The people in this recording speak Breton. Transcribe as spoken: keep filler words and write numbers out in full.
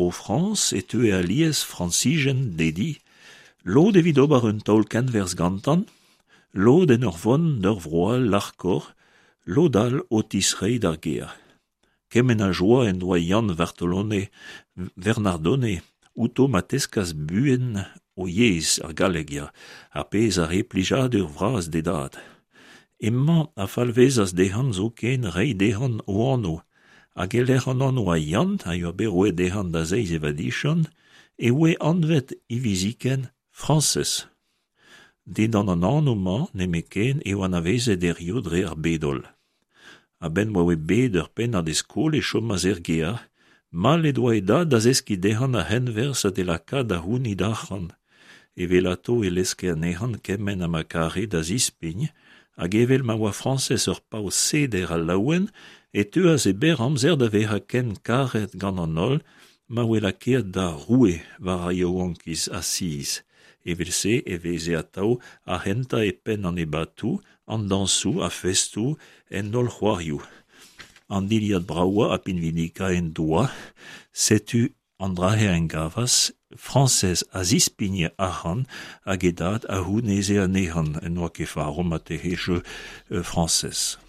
Bro-Frañs e teue alies Frañsizien d'e di, lod evit ober un taol kenwerzh gantañ, lod en ur vont d'ur vro all larkoc'h, lod all o tistreiñ d'ar gêr. Kement a joa en doa Yann Vartolone Vernardone outo ma teskas buan o yezh, ar galleg, ya, ar pezh a rae plijadur vras d'e dad. Hemañ a falvezas dezhañ zoken reiñ dezhañ o anv, hag e-lec'h an anv a Yann a yoa bet roet dezhañ da zeiz e vadiziant e voe anvet hiviziken Frañsez. Dindan an anv-mañ nemetken eo anavezet hiziv dre ar bed-holl. A-benn ma oa bet ur pennad e skol e chomas er gêr, mall en doa e dad da zeskiñ dezhañ ar c'henwerzh ha d'e lakaat da c'hounit arc'hant. Evelato e leske anezhañ kement ha ma kare da zispign, hag evel ma oa Frañsez ur paotr seder ha laouen e teuas e berr amzer da vezañ ken karet gant an holl ma voe lakaet da roue war ar yaouankiz Asiz. Evel-se e veze atav ar c'hentañ e penn an ebatoù, an dañsoù, ar festoù, en holl c'hoarioù. An dilhad bravañ ha pinvidikañ en doa, setu an dra-se en gavas, Frañsez a zispigne arc'hant hag e dad a c'houneze anezhañ. N'oa ket faro marteze jeu Frañsez.